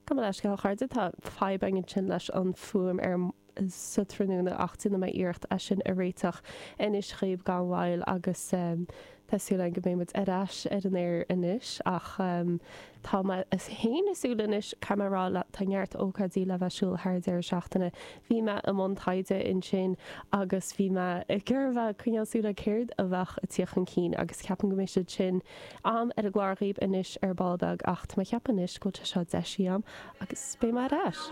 Gabh mo leithscéal, a chairde, tá fadhb againn ansin leis an fuaim ar sa tráthnóna ach déanfaidh mé iarracht é sin a réiteach anois dhaoibh gan mhoill agus tá súil agam go mbeidh muid ar ais ar an aer anois ach tá mé féin ag súil anois, caithfidh mé a rá le tá neart ócáidí le bheith ar siúl thar an deireadh seachtaine. Bhí mé i mbun taighde ansin agus bhí mé ag iarraidh a bheith ag coinneáil súil ar céard a bheadh ag tíocht chun cinn agus ceapaim go mbeidh siad sin agam ar an gclár dhaoibh anois ar ball beag ach tá mé ag ceapadh anois go bhfuil sé seo deisithe agam agus beidh mé ar ais.